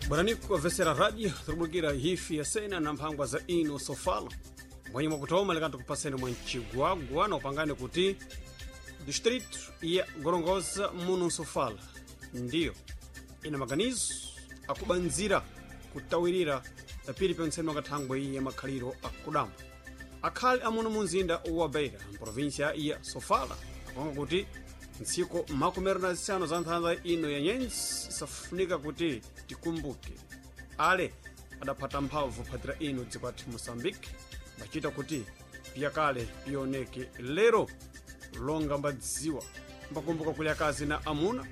Bwananiku avesera radio turubukira hifi ya sena na mphangwa za ino sofala mwenye mwakutoma lekani tukupaseni mwa ncigwagwa na upangane kuti distrito ya Gorongosa muno Sofala ndiyo ina maganizo akubanzira kutawirira pili penseni wakathangwe ya makhaliro akudamba akhali amuno mu mzinda wa Beira mprovinsia ya Sofala akonga kuti ntsiku 15 za nthanza ino ya nyenzi safunika kuti tikumbuke ale adaphata mphamvu phatira ino dziko athu Moçambique bachita kuti piyakale pioneke lero longa mbadziwa mbakumbuka kuli akazi na amuna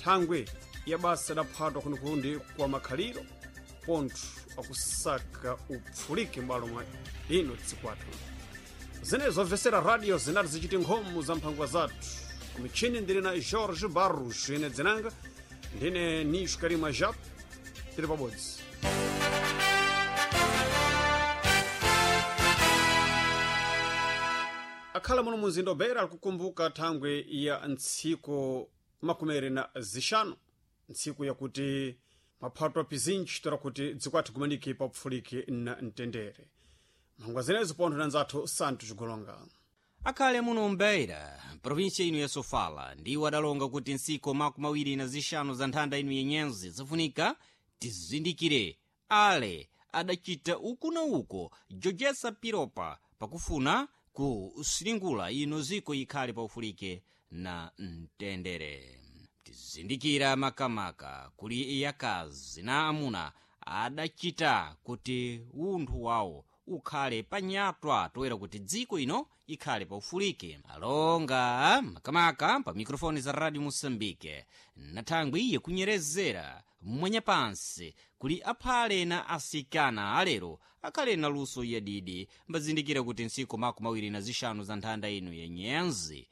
thangwe ya basa idaphatwa kunikundi kwa makhaliro pontho akusaka upfulike m'bwalo mwa ino tsiku athu zinezo zobvesera radio zinati zichiti nkhomo za mphangwa zathu kumichini ndili na Jorge Barros ine dzinanga ndine Nish Karima Jap tili pabodzi. Akhala muno muzinda wa Beira alikukumbuka thangwe ya ntsiku 25 ntsiku yakuti maphatwa pizinji tora kuti dziko athu kumaniki papfulike na mtendere mphangwa zinezo pontho na nzathu Santo Chigolonga. Akhale muno mbeira provinsia ino ya Sofala ndiwo adalonga kuti ntsiku 25 za nthanda ino yenyenzi zifunika tizindikire ale adachita uku na uko jojesa piropa pakufuna kusilingula ino ziko ikhale paufulike na mtendere. Tizindikira makamaka kuli yakazi na amuna adachita kuti unthu wawo ukhale panyatwa toera kuti dziko ino ikhale paufulike. Alonga makamaka pa mikrofoni za Radio Moçambique na thangwi iye kunyerezera mwanyapansi kuli aphale na asikana alero akhale na luso yadidi mbazindikira kuti ntsiku 25 za nthanda ino yenyenzi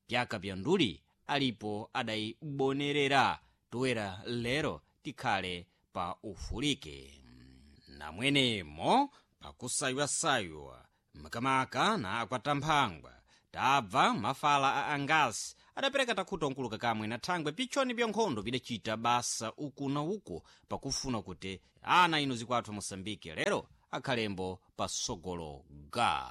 pyaka pya nduli alipo adayibonerera toera lero tikhale pa ufulike. Namwenemo pakusaywa-saywa makamaka na akwatamphangwa tabva mafala a angasi adapereka takhuta nkuluka kamwe na thangwe pichoni pya nkhondo pidachita basa uku na uku pakufuna kuti ana ino zikwathu Moçambique lero akhalembo pasogolo ga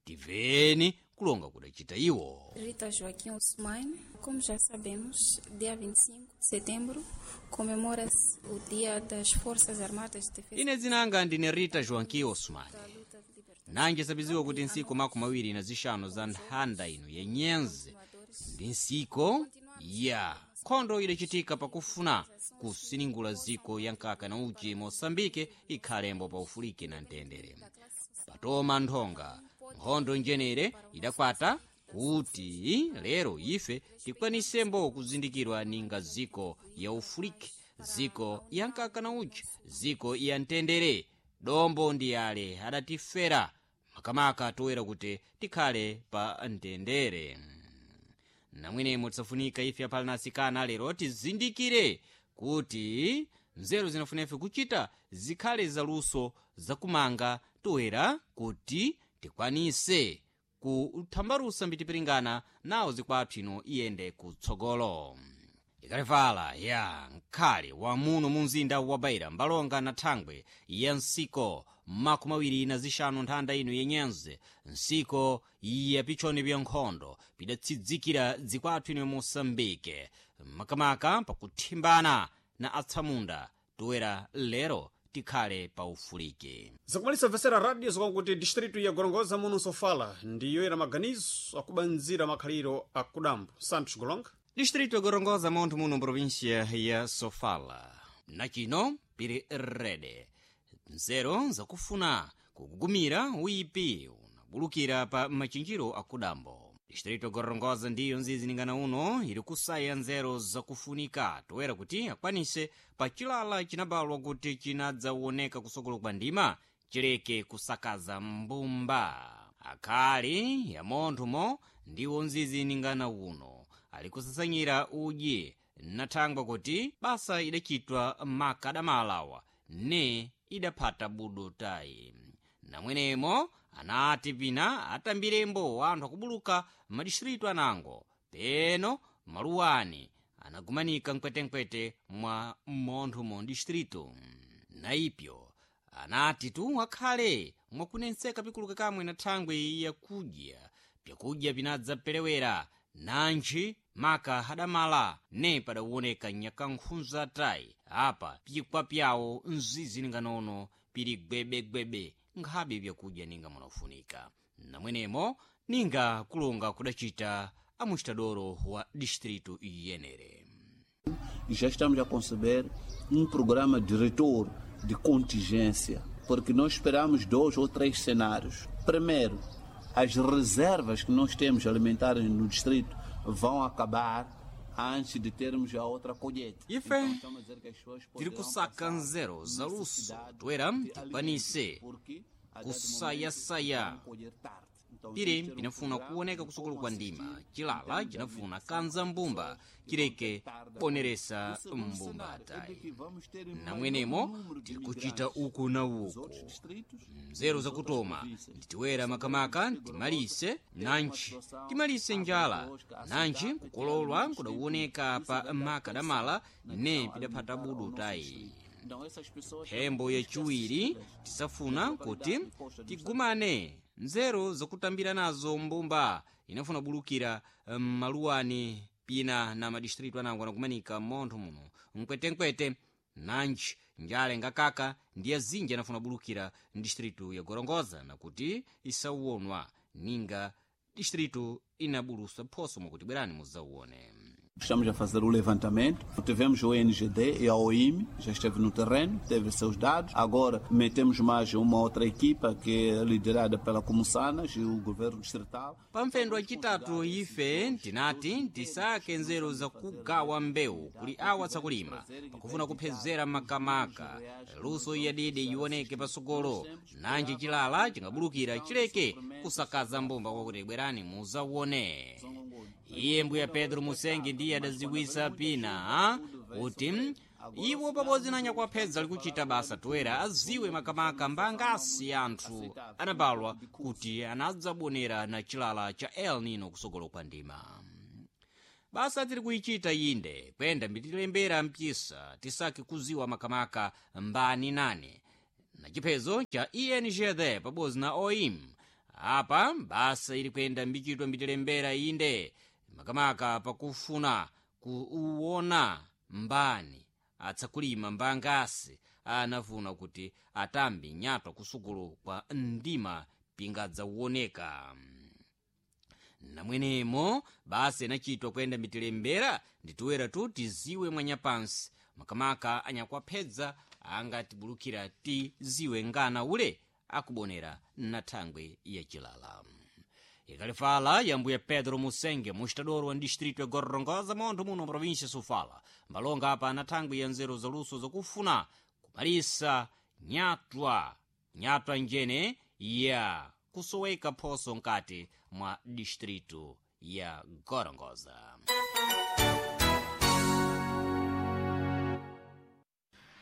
tiveni kulonga kudachita iwo. Rita Joaquim Ousmane, como já sabemos, dia 25 de setembro comemora-se o Dia das Forças Armadas de Defesa. Ine dzinanga ndine Rita Joaquim Ousmane. Da luta de libertação. Nanji sabiziwa kuti ntsiku 25 za nthanda ino yenyenzi ndi ntsiku ya nkhondo idachitika pakufuna kusiningula ziko ya nkaka na uchi Moçambique ikhalembo paufulike na mtendere. Patoma nthonga nkhondo njenere idakwata kuti lero ife tikwanisembo kuzindikirwa ninga ziko ya ufuliki, ziko ya nkaka na uchi, ziko ya mtendere. Dombo ndi ale adatifera makamaka toera kuti tikhale pa mtendere. Namwenemo tisafunika ife aphala na asikana lero tizindikire kuti nzeru zinafuna ife kuchita zikhale zaluso zakumanga toera kuti tikwanise kuthambalusa mbitipiringana nawo zikwathu ino iyende kutsogolo. Ikalevala ya nkhale wa muno mu mzinda wa Beira mbalonga na thangwe ya ntsiko 25 nthanda ino yenyenze ntsiko ya pichoni pya nkhondo pidatsidzikira dzikwathu ino Moçambique makamaka pakuthimbana na atsamunda toera lero tikhale paufulike. Zakumalisa vesera radio zokwankuti distrito ya Gorongosa muno Sofala ndiyo ina maganizo akubanzira makhaliro akudambo. Santos Golonga. Distrito ya Gorongosa montho muno província ya Sofala nachino pili rede nzeru zakufuna kugugumira uipi unabulukira pa machinjiro akudambo. Distrito ya Gorongosa ndiyo nzizi ningana uno ili kusaya nzeru zakufunika toera kuti akwanise pa chilala chinabalwa kuti chinadzawoneka kusokolo kwa ndima chileke kusakaza mbumba. Akhali ya monthomo ndiwo nzizi ningana uno ali kusasanyira udyi nathangwa kuti basa idachitwa makadamalawa ne idaphata budo tayi. Namwenemo anati pina atambirembo anthu akubuluka madistritu anango peno maluwani anagumanika mkwetenkwete mwa montho mu distrito. Naipyo anati tu akhale mwakunenseka pikuluka kamwe na thangwi yakudya pyakudya pinadzapelewera nanji maka hadamala ne padawoneka nyakankhunza tayi apa pikwa pyawo mzizi ninganono pili gwebegwebe nkhabe pyakudya ninga munafunika. Namwenemo ninga kulonga kudacita amuxitadoro wa distrito iyenere. Já estamos a conceber um programa de retorno de contingência, porque nós esperamos 2 ou 3 cenários. Primeiro, as reservas que nós temos alimentares no distrito vão acabar antes de termos a outra colheita. Ife Então, estamos a dizer que as pessoas tiri poderão kusaka passar nzero za luso necessidade toera de alimentos, tikwanise porque a dado kusayasaya momento vão colher tarde. Então, piri temos que ter um pinafuna programa kuoneka de kusukulu como kwa ndima assistir em chilala termos de chinafuna alimentação kanza às mbumba pessoas que vão chileke ter tarde a poneresa colher. O segundo mbumba cenário é de tayi. que vamos ter um maior Namwenemo número de tiri kuchita migrantes uku na dos uku outros distritos nzeru e das outras zakutoma províncias. nditiwera makamaka timalise nanji timalise njala nanji kukololwa kudawoneka pa makadamala ne pidaphata budu tayi. Então, essas pessoas Phembo também temos que yachiwiri assisti-las tisafuna nas kuti localidades de costa do tigumane nzeru zakutambira nazo mbumba inafuna bulukira maluwani pina na madistritu anango anakumanika montho muno mkwetenkwete nanji njale ngakaka ndiye zinji anafuna bulukira mdistritu ya Gorongosa nakuti isauonwa ninga distritu inabulusa phoso mwakuti bwerani muzauone. Estamos a fazer o levantamento. Tivemos o NGD e a OIM, já esteve no terreno, teve seus dados. Agora metemos mais uma outra equipa que é liderada pela Comussanas e o governo distrital. Pamphendo acitatu ife tinati tisake nzeru zakugawa mbewu kuli awa tsakulima pakufuna kuphezera makamaka luso yadidi ioneke pasogolo nanji chilala chingabulukira chileke kusakaza mbumba kwakuti bwerani muzauone. Iye mbuya Pedro Musengi ndiye adaziwisa pina kuti iwo pabodzi na nyakwapedza likuchita basa toera aziwe makamaka mbangasi anthu anabalwa kuti anadzabonera na chilala cha El Nino kusogolo kwa ndima. Basa tiri kuichita inde kwenda mbitilembera mpisa tisake kuziwa makamaka mbani nane na chiphezo cha ENGD pabodzi na OIM. Apa basa ili kwenda mbichitwa mbitilembera inde makamaka pakufuna kuuona mbani atsakulima mbangasi anafuna kuti atambe nyatwa kusukulu kwa ndima pingadzauoneka. Namwenemo basa inachitwa kuyenda mitilembera nditiwera tu tiziwe mwanyapansi makamaka anyakwapedza angatibulukira tiziwe ngana ule akubonera na thangwi yachilala. Ikalifala ya mbuya Pedro Musenge muxitadoro wa distrito ya Gorongosa montho muno província Sofala mbalonga apa na thangwi ya nzeru zaluso zakufuna kumalisa nyatwa nyatwa njene ya kusoweka phoso nkati mwa distrito ya Gorongosa.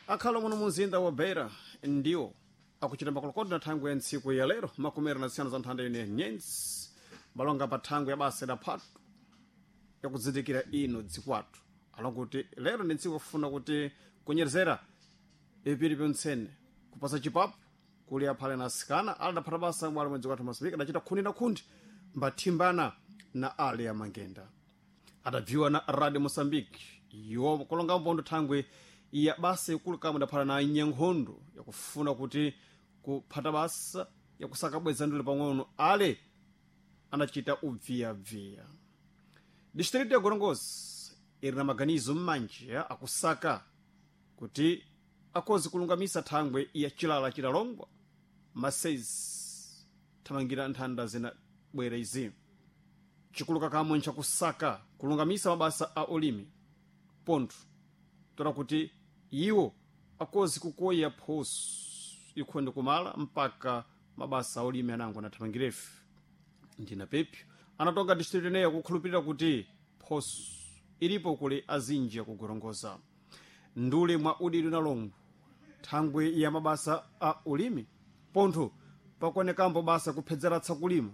Akhalo muno muzinda wa Beira ndiwo akuchita makolokoto na thangwi ya ntsiku ya lero makumera na zisiyana za nthanda ine nyenzi balonga pa thangwi ya basa idaphatu yakudzindikira ino dzikwathu alonga kuti lero ndi ntsiku yakufuna kuti kunyerezera ipiri pyontsene kupasa chipapu kuli aphale na asikana aladaphata basa mwali mwedzi kwathu masipika adachita khundi na khundi mbathimbana na ali amangenda adabviwa na radio Moçambique iwo kulonga mpondo thangwi ya basa ikulu kamwe idaphala na nyankhondo yakufuna kuti kuphata basa yakusaka bweza ndule pang'ono ale anachita ubviyabviya. Distrito ya Gorongosa iri na maganizo m'manji akusaka kuti akozi kulungamisa thangwe ya chilala chilalongwa masezi thamangira nthanda zina bwera izi chikuluka kamwe nchakusaka kulungamisa mabasa a ulimi pontho tola kuti iwo akozi kukoya phoso ikhonde kumala mpaka mabasa a ulimi anango anathamangirefe. Ndina pepyo anatonga distritu ineyo kukhulupirira kuti phoso ilipo kuli azinji akugorongoza ndule mwa udidi unalongo thangwi ya mabasa a ulimi pontho pakuonekambo basa kuphedzeratsa kulima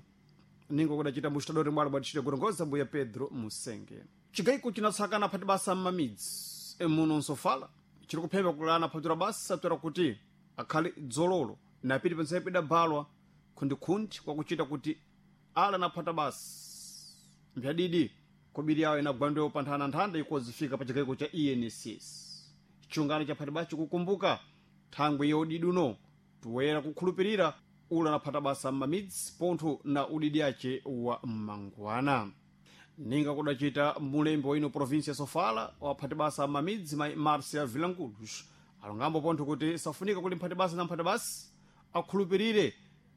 ningo kudachita muxitadori mwalo bwa distrito ya Gorongosa mbuya Pedro Musenge. Chigaiko chinatsakana phati basa m'mamidzi emuno nsofala chiri kuphemba kulana phatura basa toera kuti akhale dzololo napiti pensepo idabalwa khundikhundi kwakuchita kuti ala naphata basa mphyadidi kobiri yawo inagwandewo pa nthananthanda ikozifika pa chigaiko cha enss. Chiungano cha phati basa chikukumbuka thangwi ya udidi uno toyera kukhulupirira ula naphata basa m'mamidzi pontho na udidi ace wa mmangwana. Ninga kudacita mulembi wa ino província ya Sofala waphati basa m'mamidzi mai Marcia Vilanculos alongambo pontho kuti safunika kuti mphati basa na mphati basa akhulupirire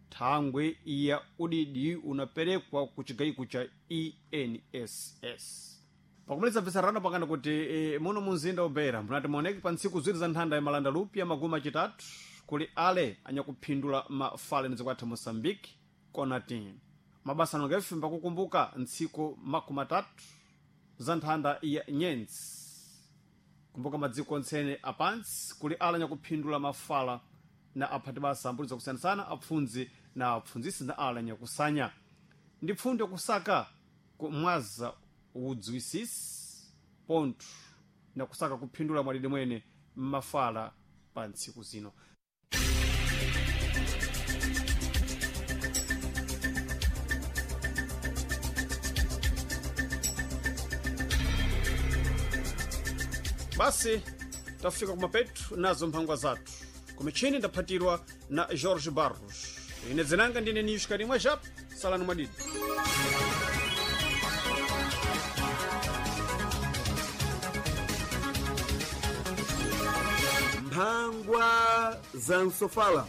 thangwi ya udidi unaperekwa ku chigaiko cha enss. Pakumaliza bvisarano pakana kuti muno munzinda ubeira munati muoneke pa ntsiku ziwiri za nthanda ya malanda lupya magumi acitatu kuli ale anyakuphindula mafale nizikwatha Moçambique konati mabasa anongefe mbakukumbuka ntsiku 30 za nthanda ya nyenzi kumbuka madziko ontsene apansi kuli ala nyakuphindula mafala na aphati basa ambuli zakusiyanasana apfundzi na apfundzisi na ala nyakusanya ndi pfundo yakusaka kumwaza udziwisisi pontho na kusaka kuphindula mwadidi mwene mmafala pa ntsiku zino. Basi tafika kumapetu nazo mphangwa zathu kumichini ndaphatirwa na Jorge Barros. Ine dzinanga ndine niyushikarimwe jap salani mwadidi. Mphangwa za Nsofala.